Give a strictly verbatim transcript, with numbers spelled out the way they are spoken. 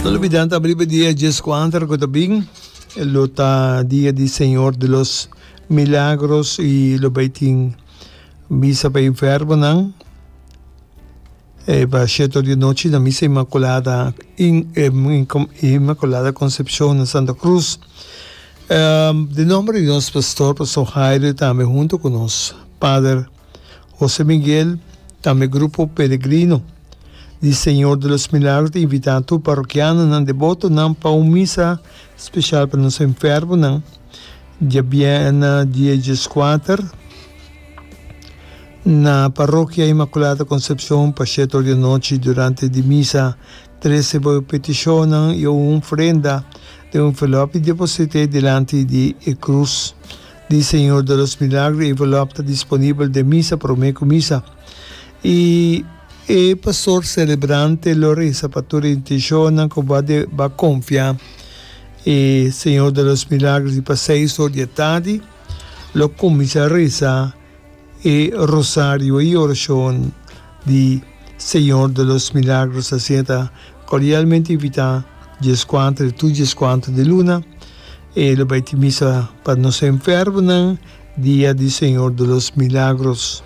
No lubida tambe riba dia dieskuater ku ta bin lo ta dia di Señor de los Milagros i lo bai tin misa pa enfermonan e pa shete or di anochi na misa Inmaculada Inmaculada Concepcion na Santa Cruz. Den nomber di nos pastor, Pastor Jairo i tambe hunto ku nos pader Jose Miguel, tambe grupo Peregrino di Señor de los Milagros ta invita tur parokianonan, debotonan pa un misa special pa nos enfermonan djabièrnè dia dieskuater na Parokia Inmaculada Concepcion pa shete or di anochi. Durante di misa trese bo petishonnan i un ofrenda den un envelop i deposit'é dilanti di e krus di Señor de los Milagros. E envelop ta disponibel den misa promé ku misa i e pastor selebrante lo resa pa tur e intenshonnan ku bo a konfia e Señor de los Milagros i pa seis or di e tardi lo kuminsá resa e rosario i orashon di Señor de los Milagros. Asina ta cordialmente invita dieskuater i tur dieskuater di luna e lo bai tin misa pa nos enfermonan dia di Señor de los Milagros.